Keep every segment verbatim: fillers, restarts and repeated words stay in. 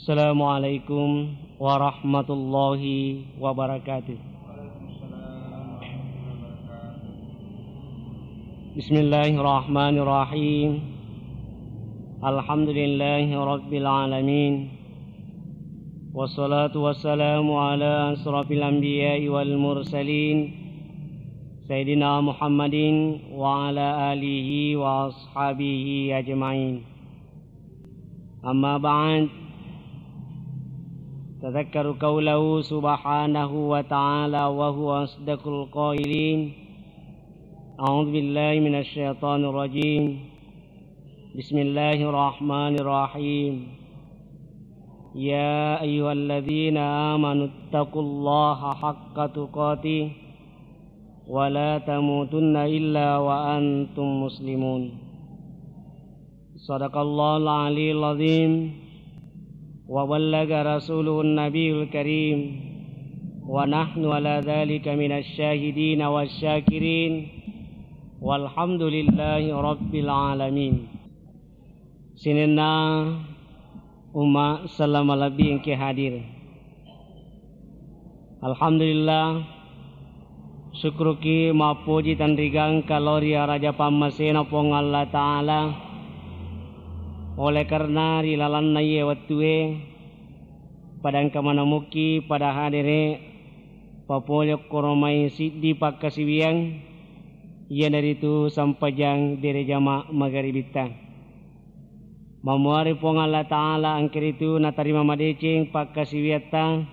Assalamualaikum warahmatullahi wabarakatuh. Bismillahirrahmanirrahim. Alhamdulillahi rabbil alamin. Wassalatu wassalamu ala asrafil anbiya'i wal mursalin, Sayyidina Muhammadin wa ala alihi wa ashabihi ajma'in. Amma ba'd, tadzakkaru qaulahu subhanahu wa ta'ala wa huwa asdaqul qailin. A'udzu billahi minasy syaithanir rajim. Bismillahirrahmanirrahim. Ya ayyuhalladzina amanu taqullaha haqqa tuqatih wa la tamutunna illa wa antum muslimun. Sadaqallahul aliyul azim wa ballaga rasuluhun nabiyul karim wa nahnu ala dzalika minasy syahidina wasy syakirin walhamdulillahi rabbil alamin. Sininna umma selleng malebbi engke hadir. Alhamdulillah, syukruki mappoji tanrigangka lao ri araja pammasena Puang Allah Ta'ala, oleh karena ri lalenna iye wettue pada engka manamukki pada hadere papole okkoro mai siddi pakkasiwiang, iyanaritu sempajang berejama magaribitta. Mamuare Puang Allah Ta'ala engkaritu natarima madeceng pakkasiwiatta,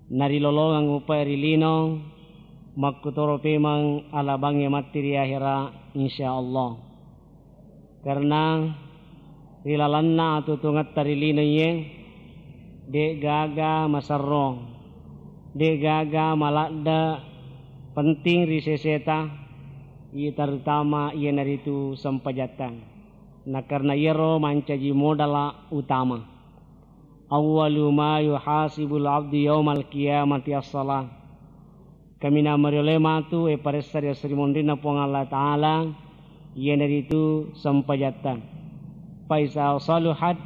narilolongeng upae ri lino, makkutoro pemeng alabangnge matti ri ahera, insyaallah. Karena ri lalenna atuo-tuongetta ri lino iye, de' gaga maserro, de' gaga maladde' penting ri seseta, iye terutama iyanaritu sempajatta. Na karena iyaro mancaji modala utama. Awwalu ma yuhasibul abdu yaumal qiyamati as-shalah. Kaminang mariolo matu e paressa ri esso ri monrinna Puang Allah Ta'ala, iyanaritu sempajatta. Fa iza saluhat,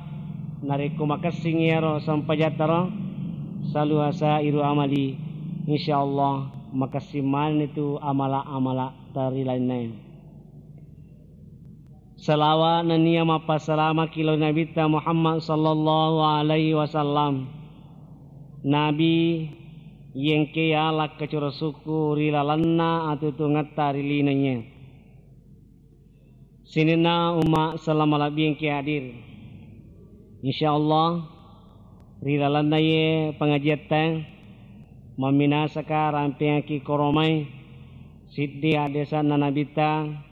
narekko makessing iyaro sempajatta ro, saluha sairu amali, insyaallah makessing manenni tu amala-amala tarilainnae. Salawa nennia mappassalamaki lao ri Nabitta Muhammad sallallahu alaihi wasallam. Nabi, iye engke yala kacurasukku ri lalenna atuo-tuongetta ri lino iye. Sininna umma selleng malebbi engke hadir. Insyaallah, ri lalenna iye pengajiatta, mamminasaka rampengaki koromai siddi haddesanna Nabitta,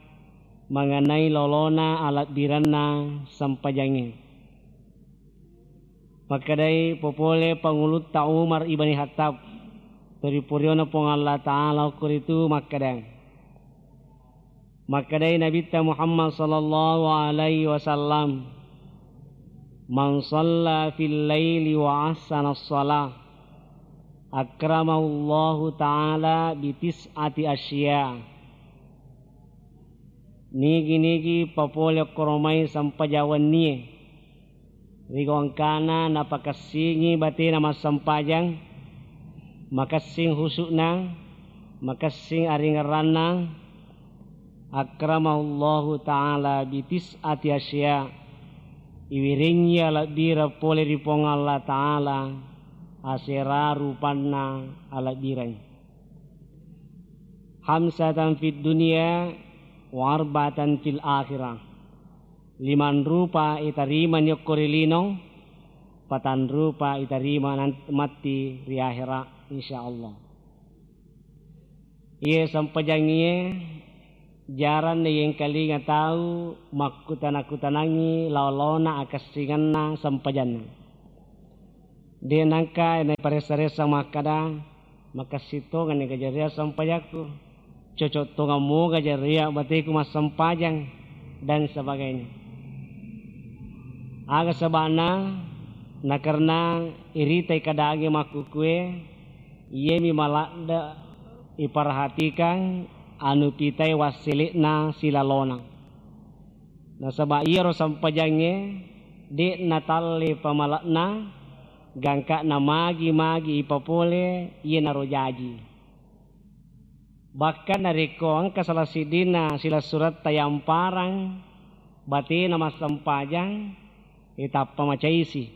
mangenai lolona alebbirenna sempajangnge. Makkedai popole Pangulutta Umar ibni Khattab, toripuriona Puang Allah Ta'ala okkoritu makkeda, makkedai Nabitta Muhammad sallallahu alaihi wasallam, "Man shalla fil laili wa ahsana shalah, akramahullahu ta'ala bi tis'ati asya." Nigi-nigi papole okkoromai sempajang wennie, ri gau engkana napakessingi batena massempajang, makessing husu'na, makessing aringerranna, akramahullahu ta'ala bi tis'ati asya, iwirengngi alebbireng pole ri Puang Allah Ta'ala asera rupanna alebbireng. Khamsatan fid dunya wa arba'atan fil akhirah. Limang rupa itarimani okko ri lino, patang rupa itarima nan-, matti ri ahera, insyaallah. Iye sempajangngie jarang naiyengkalinga tau makkutana-kutanangngi laolona akessingenna sempajanna. De' nengka naiparessa-ressa makkada, "Makessing tongenni gajaria sempajakku, cocok tongemmu gajaria bateku massempajang," dan sebagainya. Aga seba'na? Nakarena iritai kadangnge makkukue, iyemi maladde' iperhatikang anu pitai wassele'na silalona. Nasaba iyaro sempajangnge de' natalle pamale'na, Gangka namagi-magi ipapole iyanaro jaji. Bahkan narekko engka salah siddinna silessuretta yamparang batena massempajang, e tappa macaisi.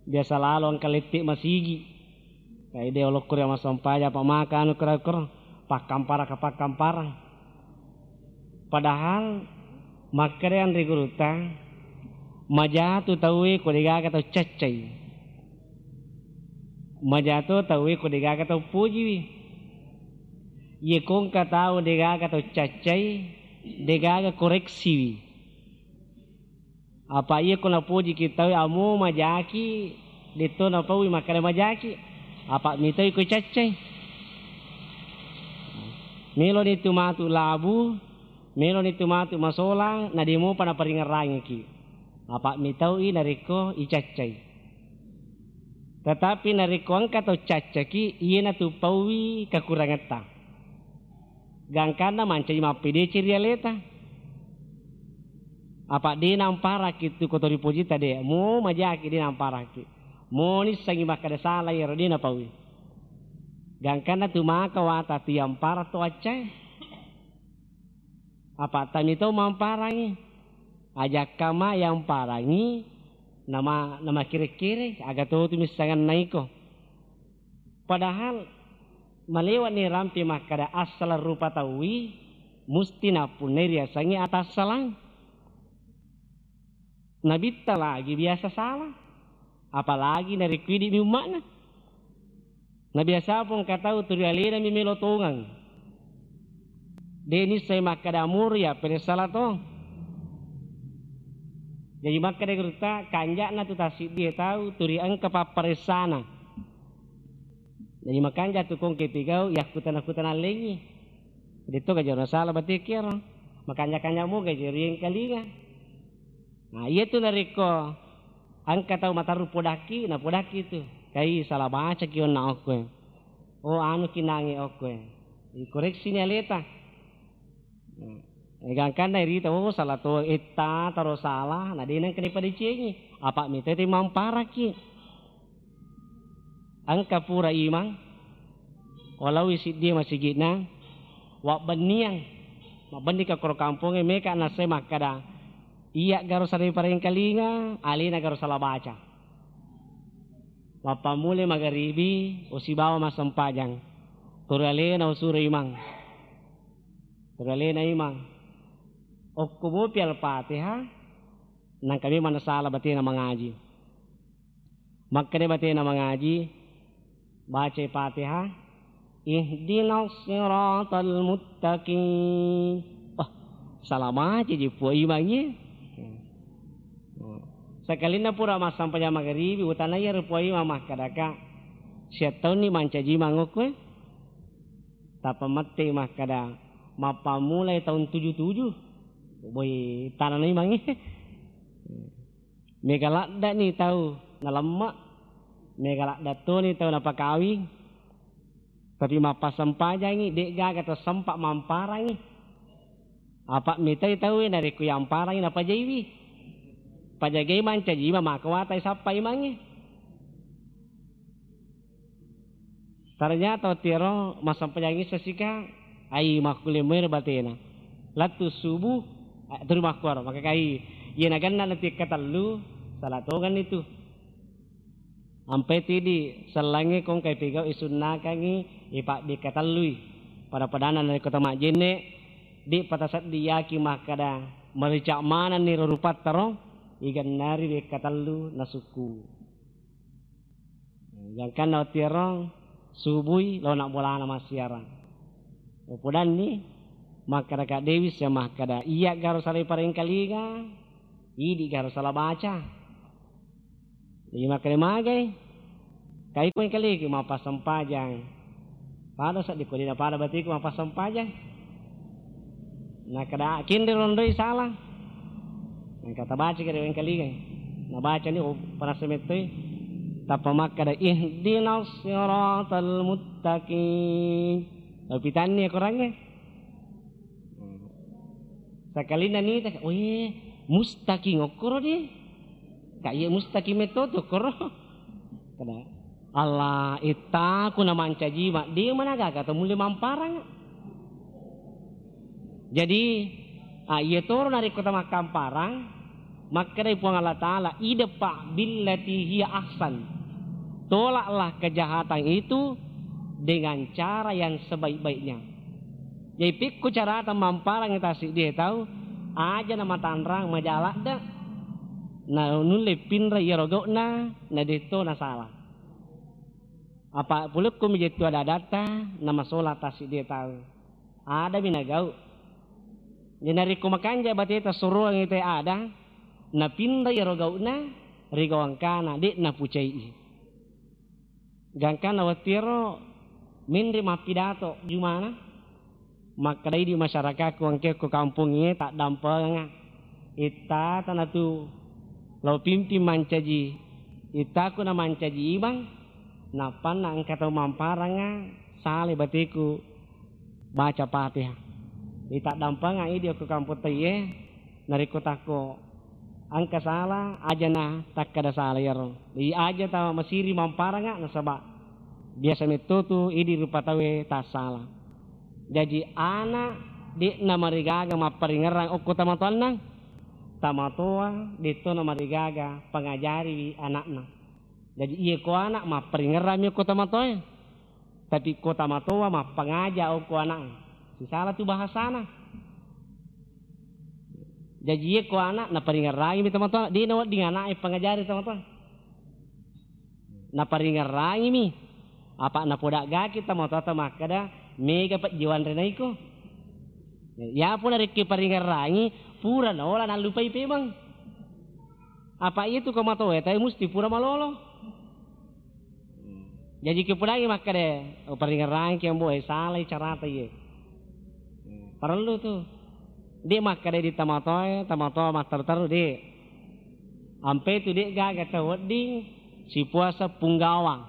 Biasa lalo engka lette masigi. Kaide olokko ri massempajang apa maka anu kura-kura pakkamparang ka pakkamparang. Padahal makkeda anre gurutta, majatu tauwe ko degaga tau caccai. Majato tauwe ko degaga tau pojiwi. Iye kongka tau degaga tau caccai, degaga koreksiwi. Apa iye ko napojiki tauwe amo majaki, detto napaui makkeda majaki. Apa mitoi ko caccai. Meloni tu matu labu, meloni tu matu masolang, na demopa naparingerrangiki. Apa mitoi narekko icaccai. Tetapi narekko engka tau caccaki, iyena tu paui kakurangetta. Gangkanna mancaji mappedeceng ri aleta. Apa de namparakki tu ko to ripojita de, mo majaki de namparakki. Mo nissengi makkeda sala iyaro de napaui. Gangkanna tu maka wata tu yampara to accai. Apa tami to mamparangi. Ajakka ma yamparangi nama, nama kire-kire, aga to tu missenganna iko. Padahal malewa ni rampe makkeda assalang rupa tauwi, musti nappunnai riasengnge atassalang. Nabitta lagi biasa salah, apalagi narekko idi'mi umma'na. Na biasa pong engka tau turi alenami melo tongeng. De nissai makkeda muri ya pede salah to. Jadi makkeda gurutta, kanja'na tu tassiddie tau turi engka papparessana. Jadi makanja tu kongke pigau, yakkutana-kutana lengngi. Detto gajana salah batekiaro. Makanja-kanja mo gaji riengkalinga. Nah, iya tu narekko engka tau matarru podakki, na podakki tu. Kai salah bacaki onna okkoe. Oh, anu ki nange okkoe. Ikoreksi ni aleta. Nah, eh, gangkanna irita, oh, salah to, etta, taro salah, na de nengka dipadecengi. Apa mita te mamparaki. Engka pura imang, walaui siddi masigi'na, wabbenniang, mabbenni ka koro kampongnge, meka nassai makkeda, iya garo salai parengkalinga, alena garo sala baca. Mappammulai magaribi, usibawa massempajang. Turi alena usuro imang. Turi alena imang. Okko mopi Al-Fatihah, nangka memang nasala batena mangaji. Makkeda batena mangaji, bacai Fatihah, ihdinas siratal muttaqim. Wah, salah baca ji Puang Imang ye. Sakalinna pura massampajang magaribi, utanai iyaro Puang Imang makkedaka, siattaunni mancaji mangokkoe. Tappa mette makkeda, mappammulai taung tuju-tuju. Boi tanana Imang ye. Mega laddani tau nalemma, mega ladda toni tau napakawing, tapi mappasempajangi, de'gaga to sempa mamparangi. Apa mitai tauwe narekko yamparangi napajaiwi. Pajagai mancaji maka watai sappa imangnge. Ternyata wettuero massempajang isseng sika, ai makkulle muero batena. Lettu subuh, eh, tuli makkuaro, maka kai, iya nagenna natikkatellu, salah tongenni tu. Ampai tu idi sellangnge kongkai pigau isunnakangi, ipabbekkatellui. Pada-padana narekko tamajjenne, di pataseddi yaki makkeda, merica manenni ro rupatta ro, igennari bekkatellu nasukku. Gangkanna wettuero subui laona bolana massiarang. Upodanni makkeda Kak Dewi sia makkeda, iya garo salai parengkalinga, idi garo sala baca. Jadi makkeda magai, kai ko engkaliki mappassempajang. Pada seddi ko dina pada batiku mappassempajang. Nakkeda, "Kenre rondoi salah." Engka tabaca kere wengkalingai. Nabacani, oh, panassa mettoi. Tappa makkeda, "Ihdinas siratal muttaqim." Tapi tanni korangnge. Sakalinna nita, "Oh, iya, mustaqim okkoro di." Kak, iya mustaqim metto tu okkoro. Kada, Allah, ittaku na mancaji ma, de mana gaga to mulle mamparang. Jadi, ah, iya toro narekko tamakkamparang, makkedai Puang Allah Ta'ala, "Idfa' billati hiya ahsan." Tolaklah kejahatan itu dengan cara yang sebaik-baiknya. Jadi, pekko carata mamparang tasiddi tau, aja na matanrang maja ladde'. Na nulle pinra iyaro gau'na, na detto nasala. Apa pulekko mi jettu ada-adatta, na masola tasiddi tau. Adami nagau. Jadi narekko makanja bateta soroang te ada, napinra iyaro gau'na ri gau engkana, de' napucai'i. Gangkanna wettuero menre mappidato jumana, makkedai di masyarakatku engke ko kampongnge taddampengenga. Itta tanatu lao pimping mancaji, ittaku na mancaji imang, nappanna engka tau mamparanga sale bateku baca Fatihah. Itaddampenga idi okko kampong taiye, narekko takko engka sala, ajana takkada sala iyaro. Jadi aja ta masiri mamparanga nasaba biasa metto tu idi rupa tauwe tassala. Jaji ana de'na marigaga mapparingerrang okko tamatoanna, tamatoa detto na marigaga pangajariwi anakna. Jaji iye ko anak mapparingerrang mi okko tamatoae. Tapi ko tamatoa mappangaja okko ana'e, sisala tu bahasana. Jaji iye ko anak naparingerrangi mi tamatoa, de' nawedding ana'e pangajari tamatoa. Naparingerrangi mi, apa napodaggaki tamatoa makkeda mega pejjiwanre naiko. Yapo narekki paringerrangi pura naola nallupai pemeng. Apa iya tu ko matoa tae musti pura malolo. Jaji kepudangi makkeda, "Oh, paringerrangki ambo, eh, salai carata iye." Parellu tu. De' makkeda di tamatoae, tamatoa matteru-teru, de'. Ampe tu de' gaga tau wedding sipuasa punggawang.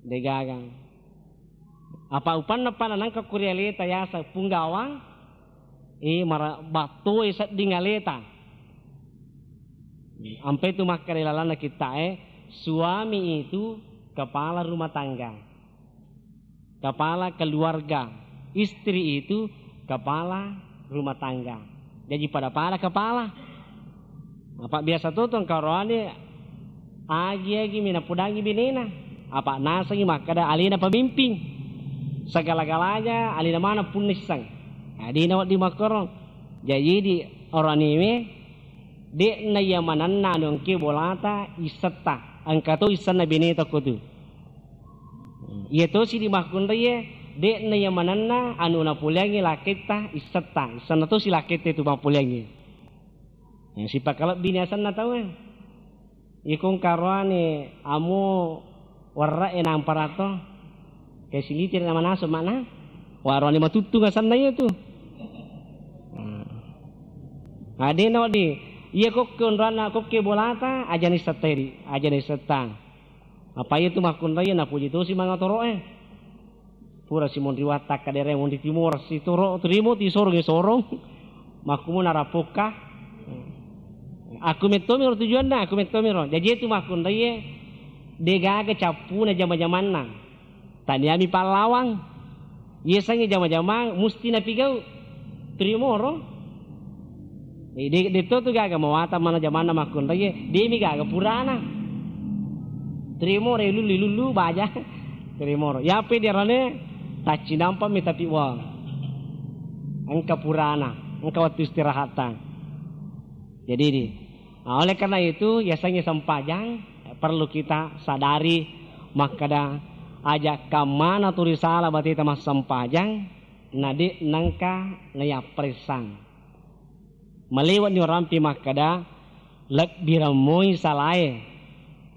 De' gaga. Apa upanna pada nangka kuri aleta yaseng punggawang, eh, mara-, battoi sedding aleta. Ampe tu makkeda lalanna kitta'e, suami itu kepala rumah tangga. Kepala keluarga. Istri itu kepala rumah tangga. Jaji pada-pada kepala. Apa biasa to tong karoane agi-agi mi napudangi benena. Apa nasengi makkeda alena pemimpin. Segala-galanya alena maneng punnisseng. Nah, de' nawedding makkoro. Jaji di oraniwe de'na iya manenna anu engke bolata issetta. Engka to issenna beneta ko tu. Iya tosi di makkunraie, de'na iya manenna anu napoleangngi laketta issetta, issenna tosi laketta itu mappoleangngi. Sipakalebbi ni asenna tauwe. Iko engka roane amo werre'e nampara to. Ke silitiri na manasu makna. Wa roane matuttung asenna iya tu. Nah, de' nawedding. Iya kokke onroanna kokke bolata, aja ni setteri, aja ni setta. Apa iya tu makkunraie napuji tosi mangatoro'e. Pura simonri watta kadereng monri timoro sitoro, trimo tisorong isorong. Makkumo narappokka. Aku mettomiro tujuanna, aku mettomiro. Jaji itu makkunraie de' gaga cappuna jama-jamanna. Taniami pallawang. Iyasengnge jama-jamang musti napigau. Trimo ro. Eh, de, de to tu gaga mawatang mana jamanna makkunraie, de mi gaga purana. Trimo ro, lullu, lullu baja. Trimo ro. Yape diarane taccinampa mi tapi wa. Engka purana, engka waktu istirahatta. Jadi di, nah, oleh karena itu, yasengnge sempajang, perlu kita sadari makkeda, aja kammana tu risala bateta massempajang, na de nengka nayappressang. Malewa ni orampi makkeda, lebbi remmoi salae,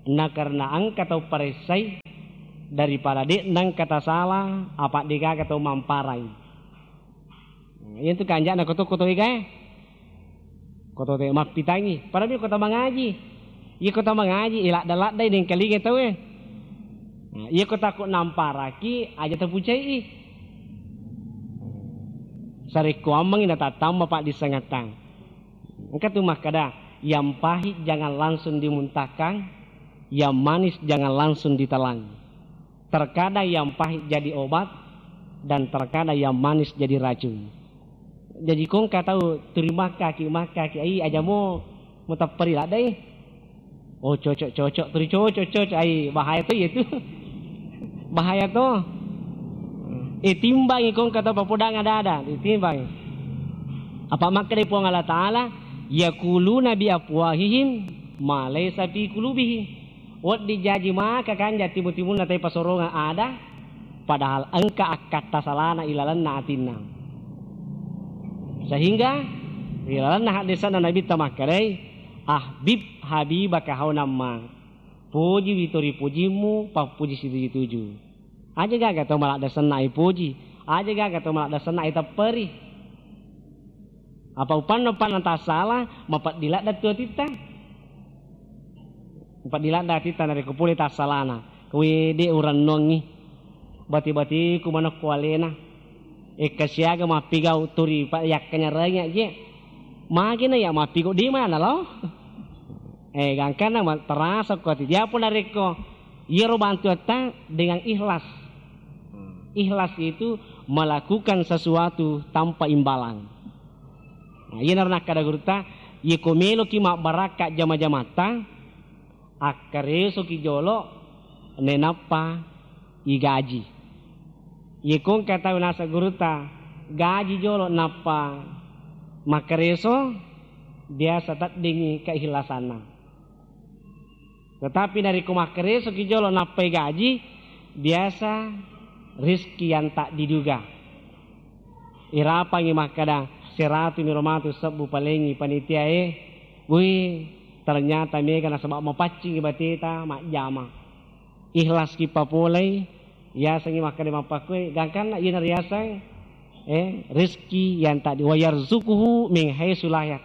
na karena engka tau paressai daripada de nengka tasala, apa degaga tau mamparai. Iyantu kanja'na koto-koto egae. Koto te mappitangi. Pada mi kota mangaji. Iya kota mangaji, iladda-laddai dengkalinga tauwe. Nah, iya kota ko namparaki, aja tapucai'i. Sarekko ammengi natattamba paddissengattang. Engka tu makkeda, yang pahit jangan langsung dimuntahkan, Yang manis jangan langsung ditelan. Terkadang yang pahit jadi obat, dan terkadang yang manis jadi racun. Jaji ko engka tau turi makkaki, makkaki, ai aja mo mutepperi ladde i. Oh, cocok, cocok, turi cocok, cocok, ai bahaya to iya tu. Bahaya to. Eh, timbangi ko engka tau papodang ada-ada, ditimbangi. Apa makkeda Puang Allah Ta'ala, "Yaquluna bi afwahihim ma laisa fi qulubihim." Wedding jaji maka kanja timu-timunna tai pasorongeng ada, padahal engka akkatta salana ilalenna atinna. Sehingga ilalenna haddesanna Nabitta makkedai, "Ahbib habibaka haunan ma." Pojiwi to ripojimmu, pappoji situju-tuju. Aja gaga to maladde senna ipoji, aja gaga to maladde senna itepperi. Apa upanna-upanna tassala, mapeddi ladde tu atitta. Mapeddi ladde atitta narekko pole tassalana. Kuwi de urennongi. Bati-batiku manekko alena. Ekka siaga mappigau turi pa yakkanyarengi aje. Magena ya mappigau di mana lo? Eh, gangkanna ma-, terasa ko ati. Diapo narekko iyaro bantuatta dengan ikhlas. Ikhlas itu melakukan sesuatu tanpa imbalan. Nah, iyana nakkada gurutta, iyako meloki mabbarakka jama-jamatta, akkaresoki jolo, nenappa igaji. Iyako engka tau naseng gurutta, gaji jolo nappa makkareso, biasa teddingi keikhlasanna. Tetapi narekko makkaresoki jolo nappai gaji, biasa rizki yang tak diduga. Irapangi makkada, "Seratu miro matu sebbu palengi panitiae." Wih, ternyata mega nasaba mapaccingi bateta majjama. Ikhlaski papolei, yasengi makkada mappakkue, gangkanna iyana riaseng, eh, rizki yang tak di-, wa yarzuquhu min haitsu la yah-,